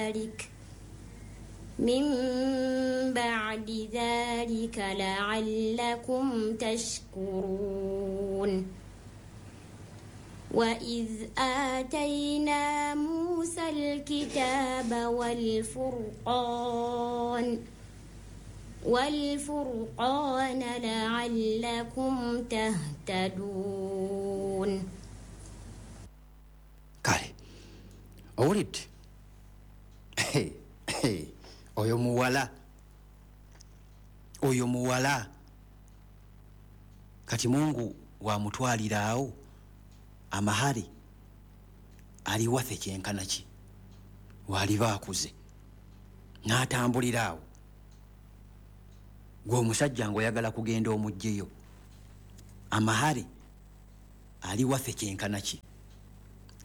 ذلك من بعد ذلك لعلكم تشكرون. وإذ آتينا موسى الكتاب والفرقان لعلكم تهتدون. Kale owulidde oyo muwala, oyo muwala kati Mungu wamutwaliraawo amahari ali waffe kyenkana ki waliba akuze n'atambuliraawo. Gwe omusajja ng'oyagala kugenda omugjeyo, amahari ali waffe kyenkana ki?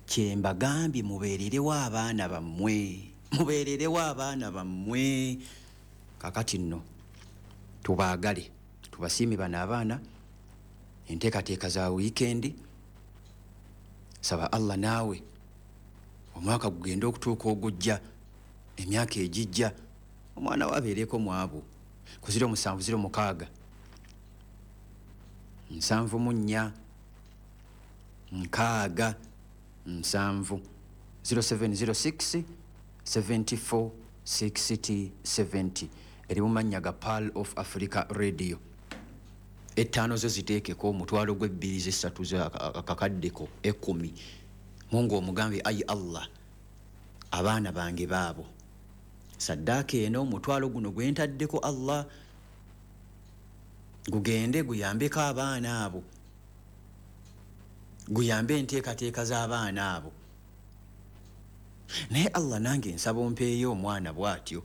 Kyembagambye mubeererewo abaana bammwe, mubeererewo abaana bammwe. Kakati nno tubaagale, tubasiime bano abaana. Enteekateeka za wiikendi, saba Allah naawe omwaka gugende okutuuka ogujja, emyaka egijja, omwana we abeereko mu abo. Ku 07 06 74 6 7 0706 74 60 70 eri mu mannya ga Pearl of Africa Radio. Ettaano zo ziteekeko, omutwalo gw'ebbiri z'essatu akakaddeko 10. Mungu omugambye, ayi Allah, abaana bange baabo saddaaka eno, omutwalo guno gwe ntaddeko Allah gugende guyambeko abaana abo, guyambe enteekateeka z'abaana abo. Naye Allah nange nsaba ompeeyo omwana bw'atyo.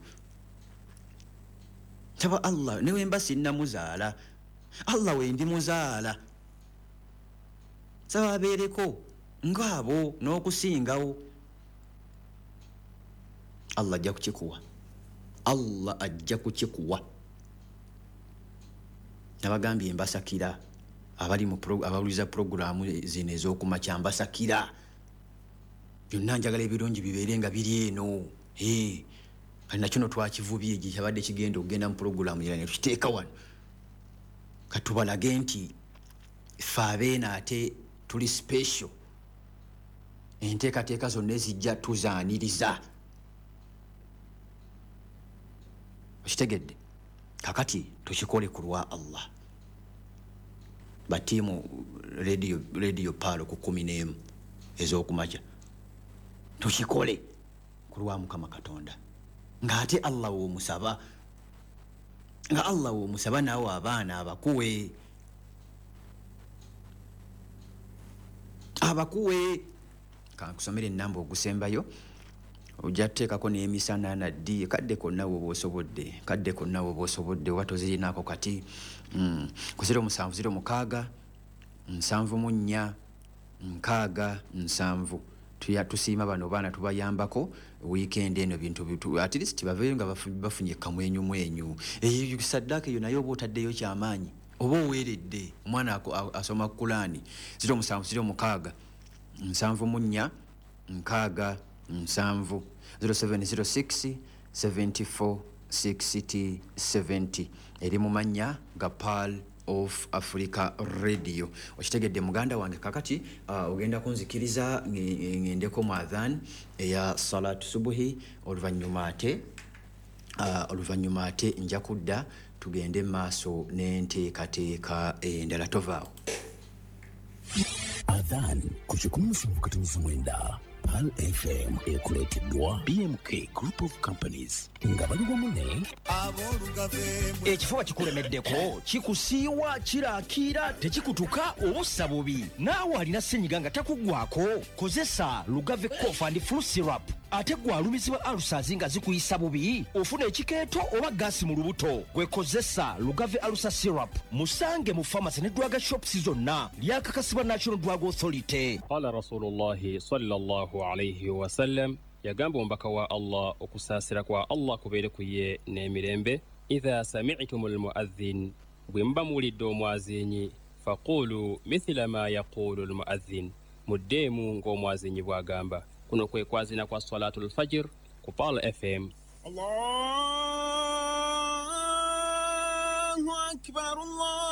Nsaba Allah ne wemba sinnamuzaala, Allah wendi muzaala, nsaba abeereko ng'abo n'okusingawo. Allah ajja kukikuwa, Allah ajja kukikuwa. Nabagambye mbasakira abali mu abawuliza puroguraamu zino ez'okumakya, mbasakira byonna. Njagala ebirungi bibeere nga biri eno. Kati nakino twakivubye kyabadde kigenda okugenda mu puroguraamu era ne tukiteeka wano, katubalage nti ffe abeeno ate tuli special. Enteekateeka zonna ezijja tuzaaniriza. Okitegedde? Kakati tukikole ku lwa Allah. Batiimu Radio Pearl ku 11 ez'okumakya, tukikole ku lwa Mukama Katonda, ng'ate Allah w'omusaba, nga Allah w'omusaba naawe abaana abakuwe, abakuwe. Kankusomere ennamba ogusembayo, ojja kuteekako n'emisana naddi kadde konna woba osobodde, kadde konna woba osobodde, oba tozirinaako kati. Ku 07 06 74 67. Tusiima bano baana, tubayambako wiikendi eno bintu at least baveeyo nga bafunye kamwenyu mwenyu. Eyo saddaaka eyo naye oba otaddeyo kyamaanyi, oba oweeredde omwana asoma Kulaani. 07 06 74 67 0706 74 60 70 eri mu mannya ga Pearl of Africa Radio. Okitegedde muganda wange? Kakati ogenda kunzikiriza ngendeko mu adhan eya salatu subuhi, oluvannyuma ate nja kudda tugende maaso n'enteekateeka endala. Tovaawo. Adhan ku 179 Pearl FM ekuleeteddwa BMK Group of Companies nga bali wamu ne Ekifuba kikulemeddeko, kikusiiwa, kirakiira, tekikutuka, obussa bubi. Naawe alina ssenyiga nga takuggwako, kozesa Lugave Cough and Flu Syrup. Ate gwe alumizibwa ulcers nga zikuyisa bubi, ofuna ekikeeto oba gaasi mu lubuto, gwe kozesa Lugave Ulcer Syrup. Musange mu pharmacy ne drug shops zonna. Lyakakasibwa National Drug Authority. Qala Rasulullahi sallallahu alayhi wasallam, yagamba omubaka wa Allah, okusaasira kwa Allah kubeere ku ye n'emirembe, idha sami'tum almuadhin, bwe muba muwulidde omwazinyi, faqulu mithila ma yaqulu almuadhin, muddeemu ng'omwazinyi bw'agamba. Kuno kwe kwazina kwa salatul fajr. Ku Pearl FM. Allahu akbar, Allah.